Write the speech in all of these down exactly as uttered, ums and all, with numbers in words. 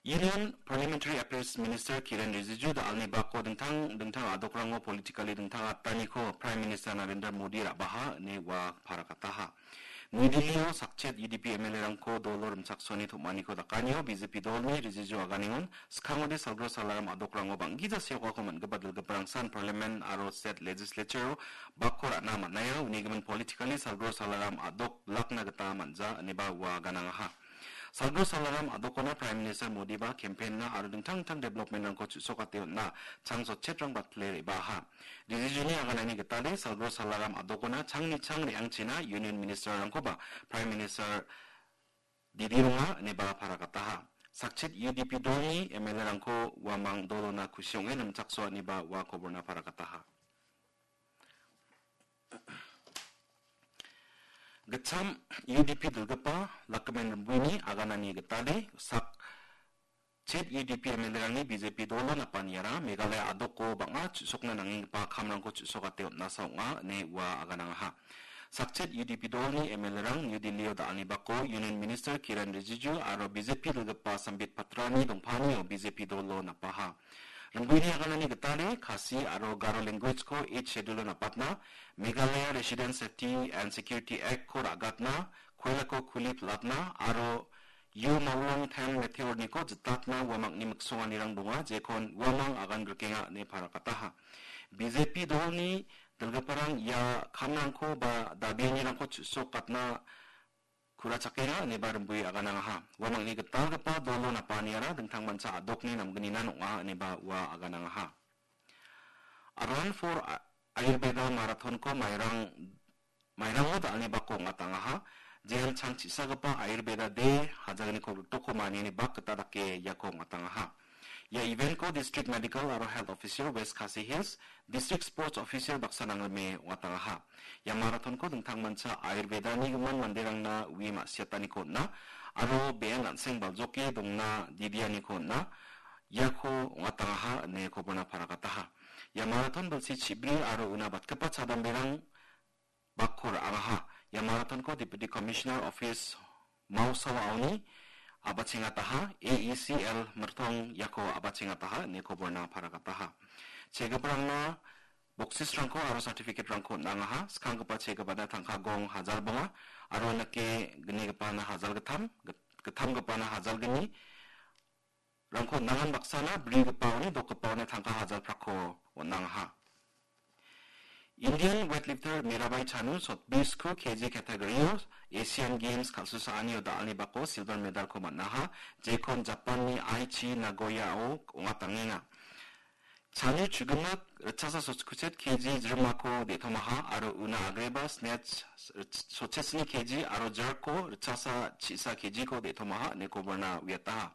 Union Parliamentary Affairs Minister Kiren Rijiju da·alni bako dingtang dingtang a·dokrango politically dingtang ataniko Prime Minister Narendra Modi ra·baha ine ua parakataha. New Delhi-o sakchet U D P M L A-rangko dolo rimchaksoani tom·aniko dakanio B J P dolni Rijiju aganengon skangode Salgro Salaram a·dokrango bang·gija seokako man·gipa dilgiparangsan Parliament aro State Legislature-o bakko ra·na man·aia, unigimin politically Salgro Salaram a·dok bilakna gita man·ja ineba ua aganangaha. Salgro Salaram a·dokona Prime Minister Modiba campaign-na aro dingtang dingtang development-rangko chu·sokate on·na chang sotchetrang battle re·baaha. Rijijuni aganani gitade Salgro Salaram a·dokona changni chang re·angchina Union Minister-rangkoba Prime Minister didironga ineba parakataha. Sakchet U D P dolni M L A-rangko uamang dolona kusi ong·e rimchaksoaniba ua koborna parakataha. Gitcham U D P dilgipa Lakmen Rimbuini aganani gitade sak chet U D P M L A-rangni B J P dolo napaniara Meghalaya a·doko bang·a chu·sokna nangenggipa kamrangko chu·sokate on·asa ong·a ine ua aganangaha. Sakchet U D P dolni M L A-rang New Delhi-o da·alni bako Union Minister Kiren Rijiju aro B J P dilgipa Sambit Patrani dongpanio B J P dolo napaha. Rimbuini aganani gitade Khasi aro Garo language-ko Eighth Schedule-o napatna, Meghalaya Resident Safety and Security Act-ko ra·gatna, koilako kuli pilatna aro U Mawlong ten meteor-niko jitatna uamangni miksonganirang donga, jekon uamang agan grikenga ine parakataha. B J P dolni dilgiparang ia kamrangko ba dabianirangko chu·sokatna kurachakenga ineba rimbui aganangaha. Uamangni gitalgipa dolo napaniara dingtangmancha a·dokni namgninan ong·a ineba ua aganangaha. Run for A-, Ayurveda Marathon-ko Mairang, Mairango da·alni bako ong·atangaha. Jehan chang chisagipa Ayurveda Day hajalgniko gitokko maniani bak gita dake iako ong·atangaha. Ia event-ko District Medical aro Health Officer West Khasi Hills, District Sports Officer baksa nangrime ong·atangaha. Ia marathon-ko dingtangmancha Ayurveda-ni gimin manderangna ue ma·siataniko on·a aro be·en an·seng baljoke dongna didianiko on·a, iako ong·atangaha ine koborna parakataha. Ia marathon bilsi chibri aro una batgipa chadamberang bakko ra·angaha. Ia marathon-ko Deputy Commissioner Office Mausawaoni a·bachengataha, A E C L Mirtong iako a·bachengataha ine koborna parakataha. Chegiparangna boksisrangko aro certificate-rangko on·angaha. Skanggipa chegipana tangka gong hajar bonga aro nike gnigipana hajar gittam, git-, gittamgipana hajar gni, rangko on·angan baksana brigipaoni dokgipaona tangka hajar prakko on·angaha. Indian weightlifter Mirabai Chanu sotbri sku K G category-o Asian Games kal·susaanio da·alni bako silver medal-ko man·aha, jekon Japan-ni Aichi Nagoya-o ong·atangenga. Chanu chugimik ritchasa sotkuchet K G jirimako de·tomaha aro una agreba snatch sochesni K G aro jerk-ko ritchasa chisa K G-ko de·tomaha ine koborna uiataha.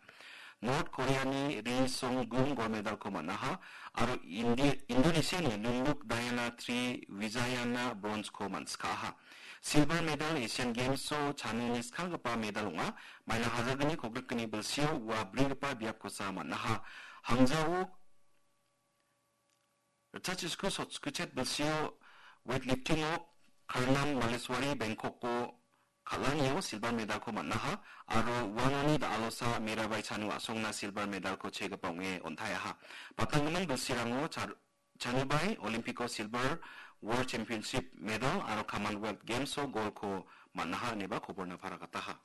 North Korea-ni Ri Song Gun gold medal-ko man·aha aro Indi-, Indonesia-ni Lulluk Diana Tri Wijayana bronze-ko man·sikaha. Silver medal Asian Games-o Chanuni skanggipa medal ong·a. Maina hajalgni kogrikgni bilsio ua brigipa biapkosa man·aha. Hangzhou ritchachisku sotkuchet bilsio weightlifting-o Karnam Malleswari Bangkok-o kal·anio silver medal-ko man·aha aro uanoni da·alosa Mirabai Chanu a·songna silver medal-ko chegipa ong·e on·taeaha. Batanggimin bilsirango Char-, Chanubai Olympic-o silver, World Championship medal aro Commonwealth Games-o gold-ko man·aha ineba koborna parakataha.